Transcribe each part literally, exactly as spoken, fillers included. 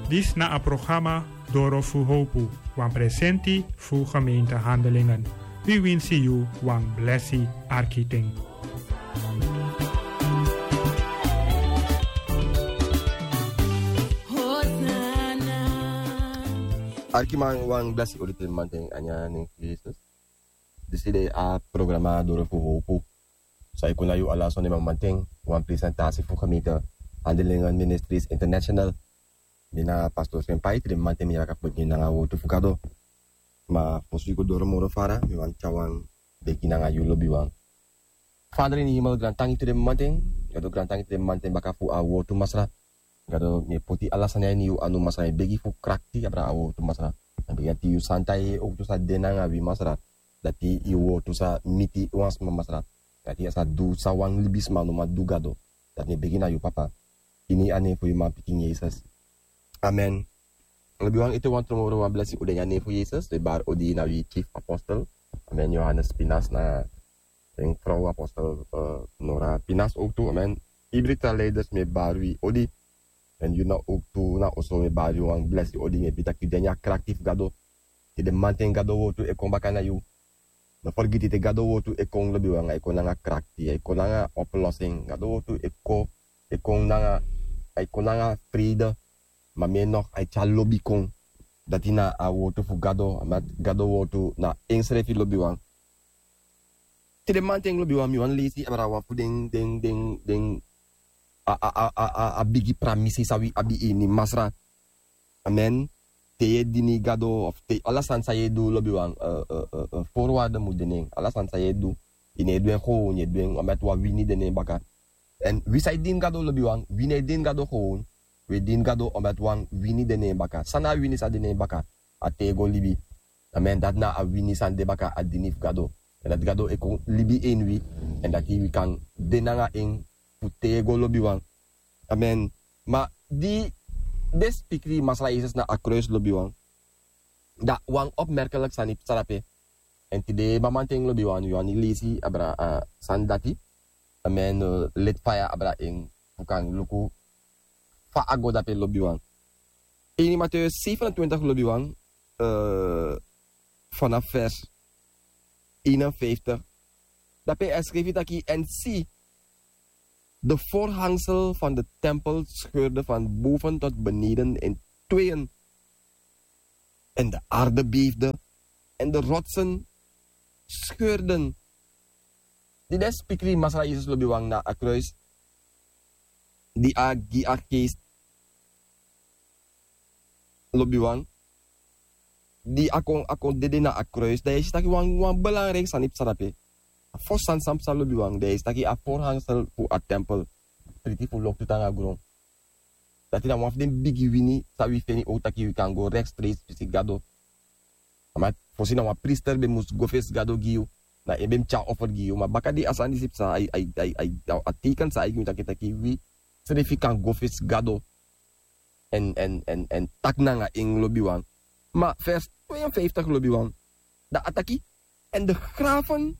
Disi na a programa Doro fu Howpu, wan presenti fu gemeente Handelingen. Wi winsi yu wan blesi arki ten. Arkiman, wan blesi odi te manten a ini a nen fu Yesus. Disi de a programa Doro fu Howpu. San e kon na yu ala sonde mamanten, wan presentasi fu gemeente Handelingen Ministries International. Mi na pastor Senpai, te den mamanten mi yaka fu bigin nanga a wortu fu Gado. Ma fosi wi go doro moro fara, mi wani tyari wan begi nanga yu lobiwan. Vader in de hemel, grantangi te den mamanten, Gado grantangi te den mamanten baka fu a wortu Masra. Gado, mi e poti ala sani a ini yu anu Masra, mi e begi fu krakti abra a wortu Masra. Mi e begi dati yu santa yeye owktu sa de nanga wi Masra. Dati yu wortu sa miti wan sma Masra. Dati a sa du san wan libisma no man du Gado. Dati mi e begi na yu Papa. Ini a nen fu yu manpikin Yesus. Amen. Lobiwan, ete wan tron moro wan blesi odi ini a nen fu Yesus. Wi e bari odi na wi chief apostel. Amen. Johannes Pinas na en frow apostel, eh, Nora Pinas owktu. Amen. Ibri tra leiders mi e bari wi odi. En yu na owktu na oso mi e bari yu wan blesi odi, mi e begi taki yu de ini a krakti fu Gado. Te den mamanten Gado wortu e kon baka na yu. No fergiti te Gado wortu e kon lobiwan, a e kon nanga krakti, a e kon nanga oplossing. Gado wortu e kon, e kon nanga, a e kon nanga vrede. Ma mi e nog a e tyari lobi kon. Dati na a wortu fu Gado, a Gado wortu na ensrefi lobiwan. Te den mamanten lobiwan mi wani leisi abra wan fu den, den, den, den, a, a, a, a, a, a bigi pramisi san wi abi ini Masra. Amen. Te yu e dini Gado, of te ala sani san yu e du lobiwan, eh, eh, eh, eh, voorwaarde mu de na en. Ala sani san yu e du, yu no e du en gewoon, yu e du en omdat wan wini de na en baka. En wi san e dini Gado lobiwan, wi no e dini Gado gewoon, wi e dini Gado omdat wan wini de na en baka. San na a wini san de na en baka? A tego libi. Amen. Dati na a wini san de baka a dini fu Gado. En dati Gado e kon libi ini wi. En dati wi kan de nanga en fu tego lobiwan. Amen. Ma di den spikri Masra Yesus na a kruis lobiwan, da wan opmerkelijk sani psa drape. En tide mamanten lobiwan, yu wani leisi abra a sani dati. Amen. Eh, leti faya abra en fu kan luku fa a go drape lobiwan. Ini Mattheus zevenentwintig lobiwan, eh, vanaf vers eenenvijftig. Drape a skrifi taki: En zie, de voorhangsel van de tempel scheurde van boven tot beneden in tweeën. En de aarde beefde, en de rotsen scheurden. Di den spikri Masra Yesus lobiwan na a kruis, di a gi a geest lobiwan, di a kon, a kon dede na a kruis, da yu e si taki wan, wan belangrijk sani psa drape. A fosi sani san psa lobiwan, da yu e si taki a voorhangsel fu a tempel priti fu loktu tan na gron. Dati na wan fu den bigi wini san wi feni owktu taki wi kan go rechtstreeks fesi Gado. Ma fosi na wan priester ben mus go fesi Gado gi yu, na en ben mus tyari offer gi yu. Ma baka di a sani disi psa, a, a, a, a, a teken san a e gi mi taki, taki wi srefi kan go fesi Gado. En, en, en, en taki nanga en lobiwan. Ma vers tweeënvijftig lobiwan, da a taki: En de graven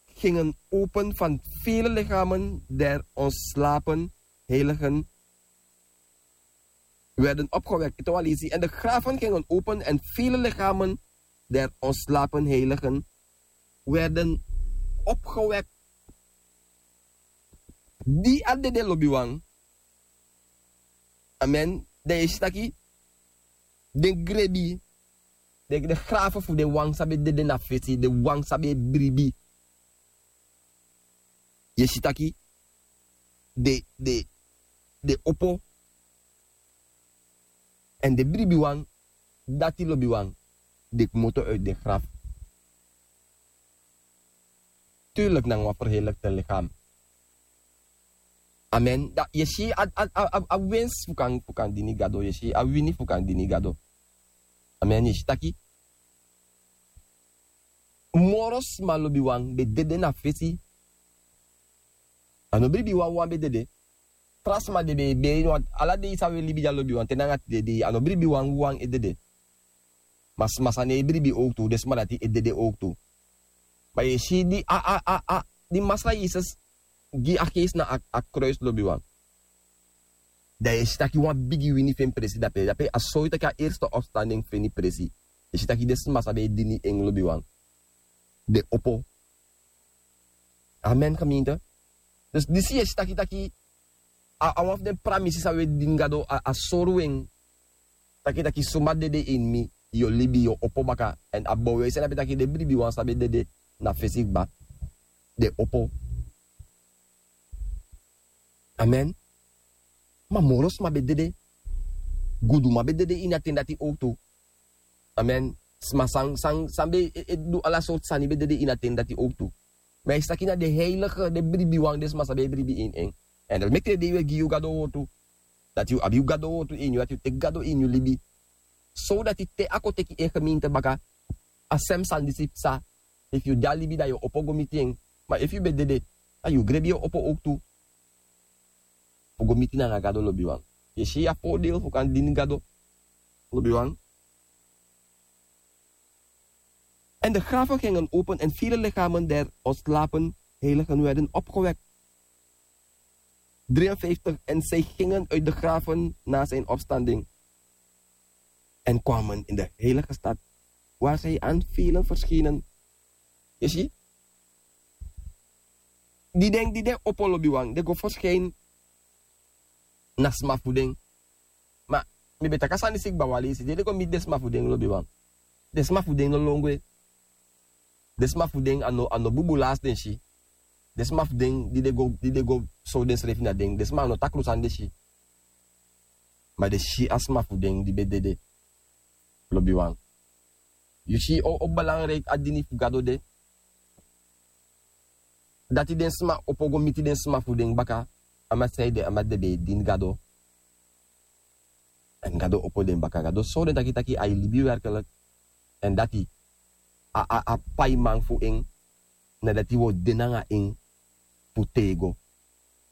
gingen open van vele lichamen der ontslapen heiligen werden opgewekt. Ete wan leisi: En de graven gingen open en vele lichamen der ontslapen heiligen werden opgewekt. Di a dede lobiwan. Amen. Da yu e si taki den grebi, den, den graven fu den wan san ben dede na fesi, den wan san ben e bribi. Yu e si taki den, den, den opo. En den bribiwan, dati lobiwan, den kmoto uit den graf. Tuurlijk nanga wan verheerlijkte lichaam. Amen. Da yu e si a, a, a, a, a winst fu kan, fu kan dini Gado, yu e si a wini fu kan dini Gado. Amen. Yu e si taki moro sma lobiwan ben dede na fesi. A no bribi wan wan ben dede. Tra sma de ben e beri, want ala dei san wi e libi dya lobiwan te nanga tide dei, a no bribi wan wan e dede. Ma sma san no e bribi owktu, den sma dati e dede owktu. Ma yu e si di a, a, a, a, di Masra Yesus gi a geest na a, a kruis lobiwan. Dan yu e si taki wan bigi wini feni presi dape dape a sori taki a erste opstanding feni presi. Yu e si taki den sma san ben e dini en lobiwan, den opo. Amen gemeente. Dus disi yu e si taki taki a wan fu den pramisi san wi e dini gado a sori wi en. Taki taki suma dede ini mi, yu o libi, yu o opo baka. Èn a bow e seni a ben taki den bribiwan san ben dede na fesi kba, den opo. Amen. Ma moro sma ben dede. Guduman ben dede ini a ten dati owtu. Amen. Sma san san san ben e du ala sortu sani ben dede ini a ten dati owtu. Ma yu si taki na den heilige den bribiwan den sma san ben e bribi ini en. Èn dati meki den dei wi e gi yu gado wortu, dati yu abi yu gado wortu ini yu dati yu teki gado ini yu libi. Sowdati te a kon teki en gemeente baka, a sem sani disi psa. Efu yu de a libi dan yu o opo go miti en. Ma efu yu ben dede, dan yu grebi yu o opo owtu fu go miti nanga gado lobiwan. Yu e si a voordeel fu kan dini gado lobiwan. En de graven gingen open en vele lichamen der ontslapen heiligen werden opgewekt. Drieënvijftig. En zij gingen uit de graven na zijn opstanding en kwamen in de heilige stad, waar zij aan velen verschenen. Yu si? Di den di den opo lobiwan den go verschijnen na sma fu den. Ma mi ben taki a sani disi kba wan leisi di den go miti den sma fu den lobiwan. Den sma fu den no lon gwe. Den sma fu den a no bubu lasi den si. Den sma fu den di den go sori densrefi na den den sma a no takru sani den si. Ma den si a sma fu den di ben dede. Lobiwan, yu si o belangriki a dini fu gado de. Dati den sma opo go miti den sma fu den baka. A mati san ede a mati den ben e dini gado. Èn gado opo den baka gado sori den taki taki a e libi werkelik. Èn dati a paiman fu en na dati wi o de nanga en fu tego.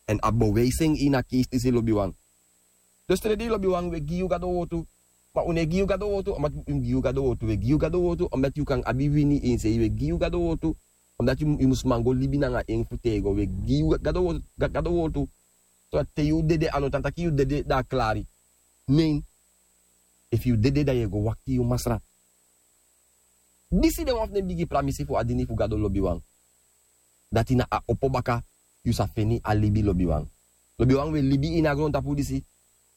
Èn a bewijsi en ini a keisi disi lobiwan. Dus te den dei lobiwan wi e gi yu gado wortu. Ma un no e gi yu gado wortu omdati un gi yu gado wortu wi e gi yu gado wortu omdati yu kan abi wini ini sei wi e gi yu gado wortu. Omdati yu mus man go libi nanga en fu tego wi e gi yu gado wortu. Sodati te yu dede a no tan taki yu dede dan a klari. Nen, efu yu dede dan yu e go wakti yu masra. Disi de wan fu den bigi pramisi fu a dini fu gado lobiwan. Dati na a opo baka yu sa feni a libi lobiwan. Lobiwan wi e libi ini a grontapu disi.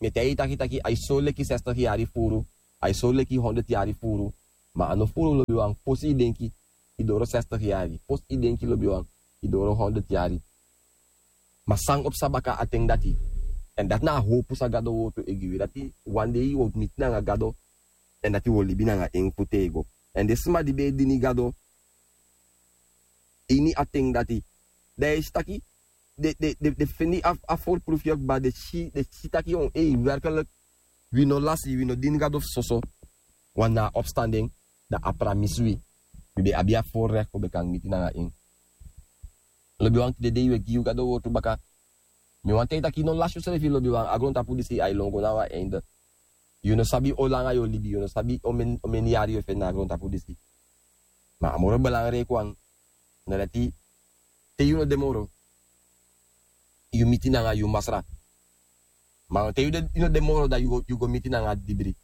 Mi e taigi yu taki taki a e sori leki sestigi yari furu. A e sori leki honderd yari furu. Ma a no furu lobiwan fosi yu denki yu doro sestigi yari fosi yu denki lobiwan yu doro honderd yari. Ma san o psa baka a ten dati? Èn dati na a howpu san gado wortu e gi wi dati. Wan dei yu o miti nanga gado. Èn dati wi o libi nanga en fu tego. Èn den sma di ben e dini gado ini a ten dati, dan yu e si taki den feni a forprufu yu kba den si taki on ei werkelik, wi no lasi wi no dini gado fu soso. Wan na a opstanden, dan a pramisi wi. Wi ben abi a forrekti fu ben kan miti nanga en. Lobiwan tide dei wi e gi yu gado wortu baka. Mi wani taigi taki yu no lasi yusrefi lobiwan a grontapu disi a e lon go na wan einde. Yu no sabi o langa yu o libi yu no sabi o meni yari yu e feni na a grontapu disi. Ma a moro belangriki wan na dati te yu no de moro, yu miti nanga yu masra. Ma te yu no de moro dan yu go miti nanga a dibri.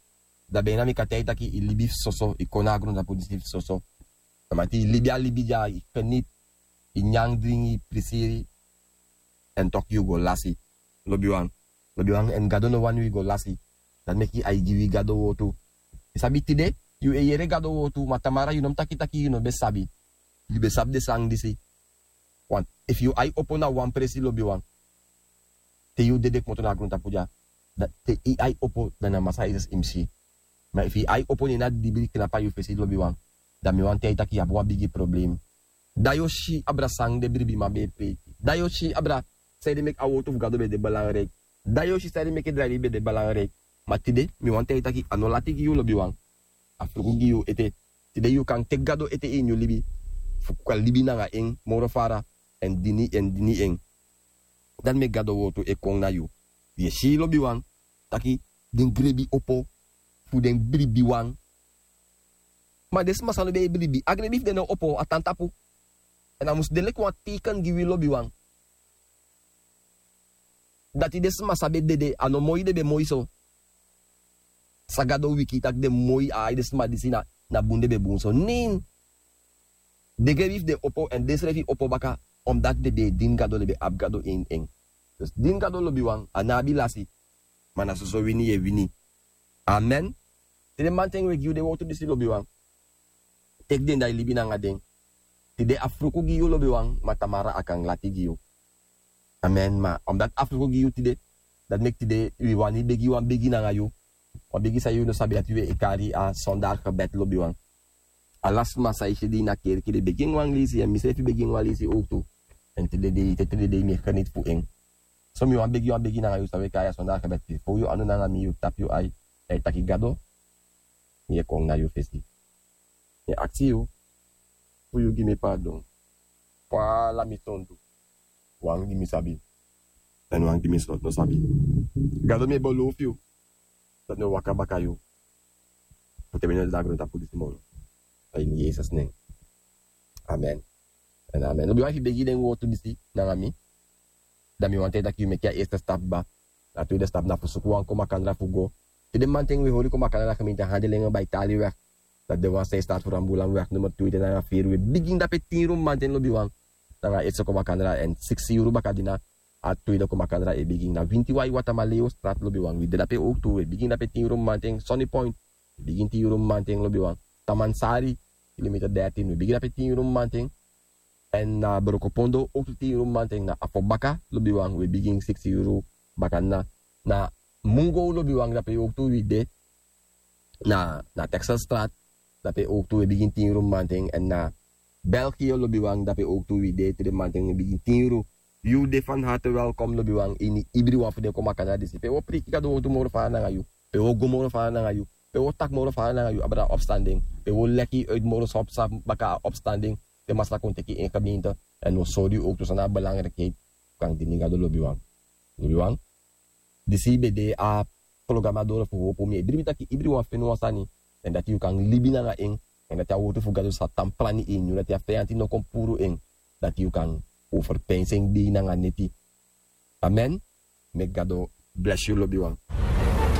Dan ben na mi kan taigi taki yu libi fu soso yu kon na a grontapu disi fu soso. Dan mati yu libi a libi di a yu feni yu nyan dringi yu prisiri. Èn toki yu go lasi. Lobiwan. Lobiwan èn gado no wani wi go lasi. Dati meki a e gi wi gado wortu. Yu sabi tide yu e yere gado wortu ma tamara yu no mus taki taki yu no ben sabi. Yu ben sabi den sani disi. Efu yu ai opo na wan presi lobiwan, te yu dede kmoto na a grontapu dya, te yu ai opo dan na masra yesus yu mus si. Ma efu yu ai opo ne na dibri knapu na yu fesi lobiwan, dan mi wani taigi yu taki yu abi wan bigi problem. Dan yu o si abra san den bribiman ben e preiki. Dan yu o si abra san ede meki a wortu fu gado ben de belangriki. Dan yu o si san ede meki drai ben de belangriki. Ma tide mi wani taigi yu taki a no lati gi yu lobiwan. A fruku gi yu ete. Tide yu kan teki gado ete ini yu libi fu kan libi nanga en moro fara èn dini en dini en. Dati meki gado wortu e kon na yu. Yu e si lobiwan taki den grebi opo fu den bribiwan. Ma den sma san no ben e bribi a grebi fu den no opo a tan tapu. Èn a mus de leki wan teiken gi wi lobiwan. Dati den sma san be dede, a no moi den be moi so. San Gado wiki taki den moi, a ai den sma disi na, na bun den be bun so. Nen. Den geri fu den opo, èn den srefi opo baka, omdat den be e dini Gado, den be abi Gado ini en. Dus dini Gado, lobiwan, a no abi lasi. Ma na soso wini yu e wini. Amen. Te den manten we gi yu den wowtu disi, lobiwan, teki den, da yu libi nanga den. Tide a fruku gi yu, lobiwan, ma tamara a kan lati gi yu. Amen. Ma omdat a fruku gi yu tide, dati meki tide wi wani begi wan begi nanga yu. Wan begi san yu no sabi, dati wi e kari a sondagsgebed, lobiwan. Ala sma san e si di na kerki, den begi en wan leisi, èn misrefi begi en wan leisi owktu. Èn tide dei, te tide dei mi e geniet fu en. So mi wani begi wan begi nanga yu, san wi e kari a sondagsgebed. Fu yu anu nanga mi, yu tapu yu ai, èn yu taki: Gado, mi e kon na yu fesi. Mi e aksi yu fu yu gi mi pardon fu ala mi sondu, wan di mi sabi, èn wan di mi no sabi. Gado, mi e belofu yu dati mi o waka baka yu fu te mi no de na grontapu disi moro. A ini Yesus nen. Amen. Èn amen. Lobiwan, efu yu begi den wowtu disi nanga mi, dan mi wani taki yu meki a eerste stap kaba. A tweede stap na fu suku wan kon makandra fu go. Te den manten we hori kon makandra na gemeente Handelingen bij Taliweg. Dati de wan san e start fu Rambulanweg nummer twee, den nanga feri, we bigin dape tin yuru mamanten, lobiwan. Nanga eerste kon makandra, èn siksi yuru baka di na a tweede kon makandra e bigin. Na winti wai Watamaleostraat, lobiwan, wi de dape owktu, we bigin dape tin yuru mamanten. Sunny Point, we bigin tin yuru mamanten, lobiwan. Tamansari, kilometer dertien, we bigin dape tin yuru mamanten. Èn na Brokopondo owktu tin yuru mamanten, na Afobaka, lobiwan, we bigin siksi yuru baka na, na Mungo, lobiwan, dape owktu wi de. Na, na Texelstraat, dape owktu we bigin tin yuru mamanten, èn na België, lobiwan, dape owktu wi de, te den mamanten we bigin tin yuru. Yu de van harte welkom, lobiwan, ini ibri wan fu den kon makandra disi. Pe wo priki Gado wowtu moro fara nanga yu. Pe wo go moro fara nanga yu. Pe wo taki moro fara nanga yu abra opstanding. Pe wo leki uit moro san psa baka a opstanding. Te Masra kon teki en gemeente. Èn wo sori yu owktu san na a belangrikheid fu kan dini Gado, lobiwan. Lobiwan. Disi be de a programa Doro fu Hopu. Mi e bribi taki ibri wan feni wan sani. Èn dati yu kan libi nanga en. Èn dati a wowtu fu Gado sa tan plani ini yu. Dati a feyanti no kon puru en. Dati yu kan overpeinsi en dei nanga neti. Amen. Meki Gado bless yu, lobiwan.